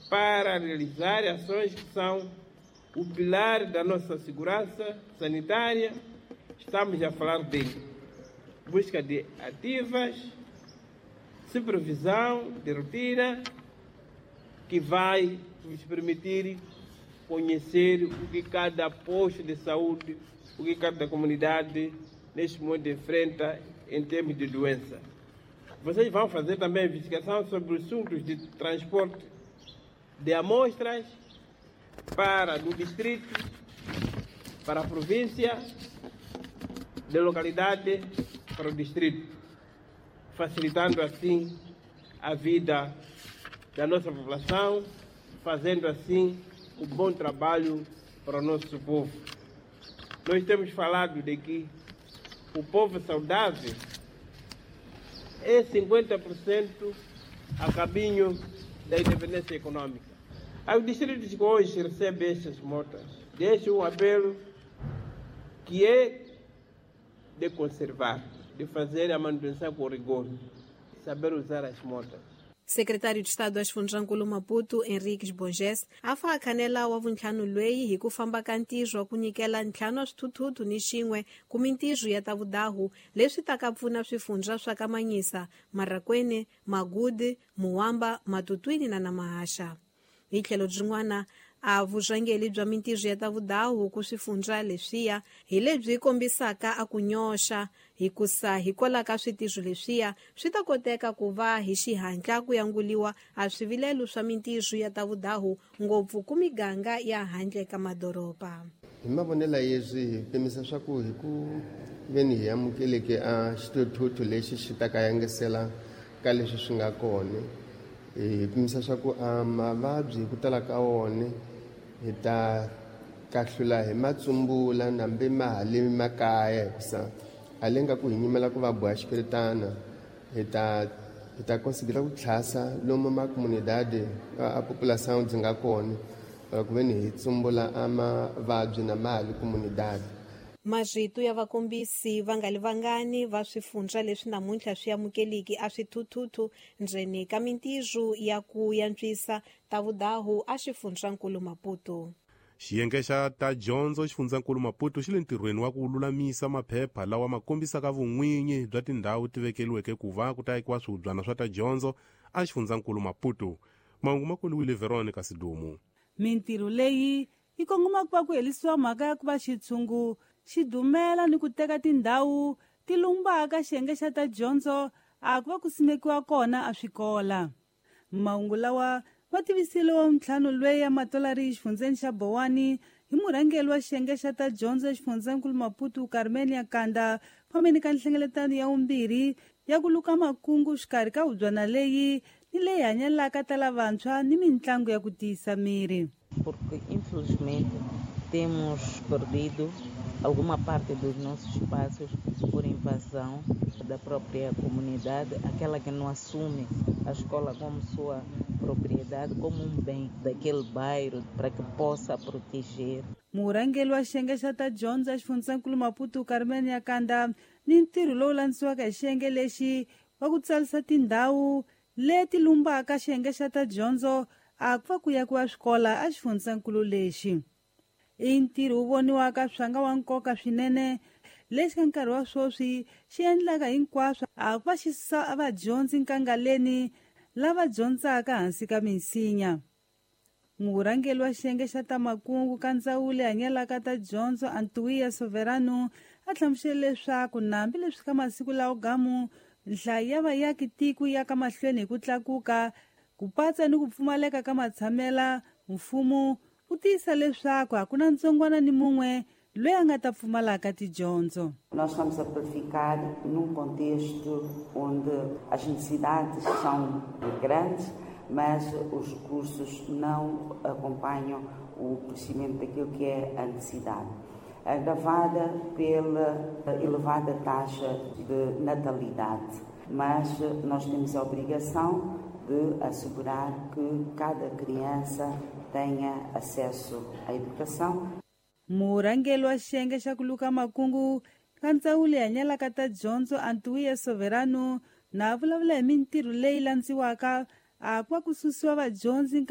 para realizar ações que são o pilar da nossa segurança sanitária. Estamos a falar de busca de ativas, supervisão de rotina, que vai nos permitir conhecer o que cada posto de saúde, o que cada comunidade neste momento enfrenta em termos de doença. Vocês vão fazer também investigação sobre assuntos de transporte de amostras para do distrito, para a província, de localidade para o distrito, facilitando assim a vida da nossa população, fazendo assim um bom trabalho para o nosso povo. Nós temos falado de que o povo saudável é 50% a caminho da independência econômica. Aí o distrito de hoje recebe estas motas. Deixo um apelo que é de conservar, de fazer a manutenção com rigor, saber usar as motas. Secretário de Estado wa Xifundzankulu Maputo Henriques Borges a fa khanela wa vuntlhanu lweyi hi ku famba ka ntirho wa ku nyikela ntlhanu wa swithuthuthu ni xin'we ku mintirho ya ta vudahu leswi taka pfuna swifundza swa ka Manyisa, Marrakwene, Magude, Muwamba, Matutwini na Namahaxa. Hi tlhelo byin'wana a vurhangeri bya mintirho ya ta vudahu ku swifundza leswiya hi lebyi kombisaka a ku nyoxa hikusa hikwalaho ka switirho leswiya swi ta koteka ku va hi xihatla ku yanguliwa a swivilelo swa mintirho ya ta vudahu ngopfu ku miganga ya handle ka madoroba. Hi mavonelo yeswi hi pimisa swa ku hi ku veni hi amukeleke a xithuthuthu lexi xi ta ka yangisela ka leswi swi nga kona, hi pimisa swa ku a mavabyi hi ku tala ka wona hi ta kahlula hi matsumbula nambe ma ha le makaya, hikusa a le nga ku hi nyimela ku va boha xipiritana, hi ta considera ku tlhasa lomu ma comunidade a population byi nga kona ku veni hi tsumbula a mavabyi na ma ha le comunidade. Marito ya vakombisi va nga li vangani va swifundza leswi namuntlha swi amukeliki a swithuthuthu ndzeni ka mintirho ya ku yantswisa ta vudahu a xifundzankulu Maputo. Xiyenge xa ta dyondzo xifundzankulu Maputo xi le ntirhweni wa ku lulamisa maphepha lawa ma kombisaka vun'winyi bya tindhawu ti vekeliweke ku va ku ta akiwa swihubyana swa ta dyondzo a xifundzankulu Maputo. Mahungu ma koliwile Veronica Sidumu. Mintirho leyi yi kongoma ku va ku herisiwa mhaka ya ku va xitshungu xi dumela ni ku teka tindhawu ti lumbaka xiyenge xa ta dyondzo a ku va ku simekiwa kona a swikola. Mahungu lawa ma tivisile wa ntlhanu lweyi ya matolari exifundzeni xa Bowani hi murhangeri wa xiyenge xa ta dyondzo exifundzeninkulu Maputo Carmen Yakanda fambeni ka nhlengeletano ya vumbirhi ya ku luka makungu xikarhi ka hubyana leyi ni leyi hanyelaka ta lavantshwa ni mitlangu ya ku tiyisa miri. Porque infelizmente temos perdido alguma parte dos nossos espaços por invasão da própria comunidade, aquela que não assume a escola como sua propriedade, como um bem daquele bairro, para que possa proteger. Murhangeri wa xiyenge xa ta dyondzo exifundzeninkulu Maputo Carmen Yakanda ni ntirho lowu landzisiwaka hi xiyenge lexi wa ku tsarisa tindhawu leti lumbaka xiyenge xa ta dyondzo a ku va ku yakiwa swikola exifundzeninkulu lexi. I ntirho wu voniwaka swanga wa nkoka swinene lexi ka nkarhi wa sweswi xi endlaka hinkwaswo a ku va xi susa vadyondzi nkangaleni lava dyondzaka hansi ka minsinya. Murhangeri wa xiyenge xa ta makungu ka ndzawulo leyi hanyelaka ta dyondzo Antuia Soverano a hlamusele leswaku nambi leswi ka masiku lawo gamu nhlayo ya vayaki tiko ya ka mahlweni hi ku tlakuka ku patsa ni ku pfumaleka ka matshamela, mfumo wu tiyisa leswaku hakuna ntsongwana ni mun'we loyi a nga ta pfumalaka tidyondzo. Nós estamos a verificar num contexto onde as necessidades são grandes, mas os recursos não acompanham o crescimento daquilo que é a necessidade, agravada pela elevada taxa de natalidade. Mas nós temos a obrigação de assegurar que cada criança tenha acesso à educação. Murhangeri wa xiyenge xa ku luka makungu ka ndzawulo hanyelaka ta dyondzo Antuia Soverano na vulavula hi mintirho leyi landziwaka a ku va ku susiwa vadyondzi.